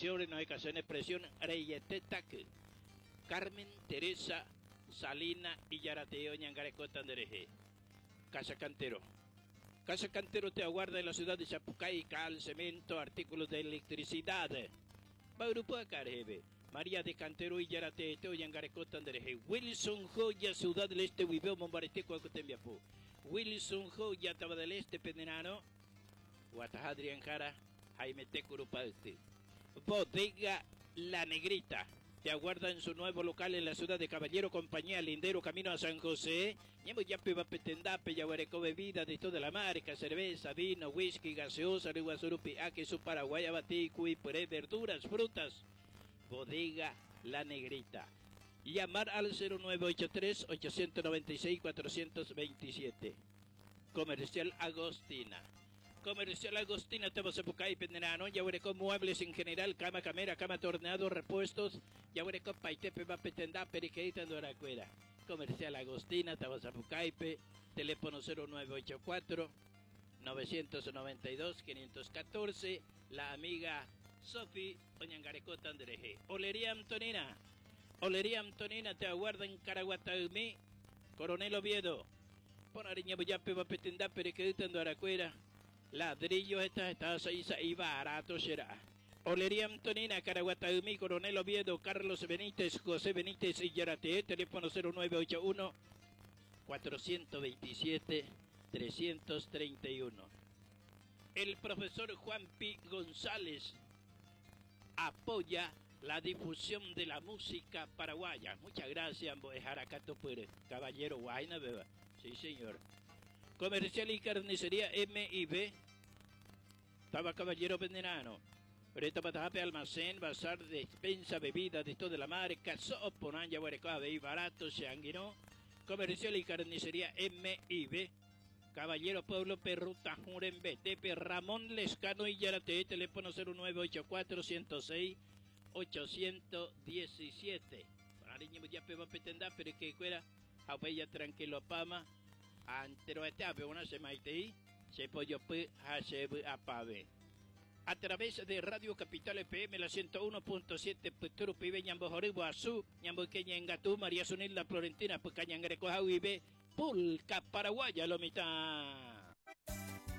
Presión, renohekasene presión reiete taky. Carmen Teresa Salina ijaratee oñangarekóta nderehe. Casa Cantero. Casa Cantero te aguarda en la ciudad de Sapucay, cal, cemento, artículos de electricidad. Mba'yrupu'aka reheve, María de Cantero ijarateete oñangarekóta nderehe. Wilson Joya, Ciudad del Este guive omombarete ko'ã ko tembiapo. Wilson Joya, Tava del Este penerãrõ, Guataha Adrián Jara, Haimete Curupayty. Bodega La Negrita te aguarda en su nuevo local en la ciudad de Caballero, compañía Lindero, camino a San José. Ñembojápeva pe tendápe jaguereko bebida de toda la marca, cerveza, vino, whisky, gaseosa, ryguasu rupi'a, kesu paraguái, avati, ku'i pyre, verduras, frutas. Bodega La Negrita. Llamar al 0983 896 427. Comercial Agostina. Comercial Agostina táva Sapucai penderãrõ jaguereko muebles en general, cama camera, cama torneado, repuestos, jaguereko paitépeva pe tendápe rekeýta ndorakuéra. Comercial Agostina táva Sapucaipe, teléfono 0984 992 514, la amiga Sofi oñangarekóta nderehe. Olería Antonina, Olería Antonina te aguarda en Caraguataymi, Coronel Oviedo. Porã reñembojápeva pe tendápe rekeýta ndoarakuéra, ladrillo heta heta sa'i sa'i barato che ra'a. Olería Antonina, Caraguataymi, Coronel Oviedo, Carlos Benítez, José Benítez ijaratee, teléfono 0981 427 331. El profesor Juan Pi González apoya la difusión de la música paraguaya. Muchas gracias, mbo'ehára katupyry. Caballero guáina péva. Sí, señor. Comercial y Carnicería MIB. Táva Caballero Venerano. Retopatahápe almacén, bazar, despensa, bebida de toda la marca, so'o porã jaguereko avei barato che angirũ. Comercial y Carnicería MIB. Caballero Pueblo Perru Tahũ rembetépe Ramón Lescano ijaratee teléfono 0984 106 817. Porã reñemboja péva pe tendápe rekekuéra ha upéi ja tranquilopáma ha enteroete ápe g̃uarã che maitei, che pojopy ha che vy'apave. A través de Radio Capital FM la 101.7 pytu rupive ñambohory guasu, ñamboyke ñe'ẽngatu María Zunilda Florentina Pyka ñangarekoha guive Pulca Paraguaya lo mitã.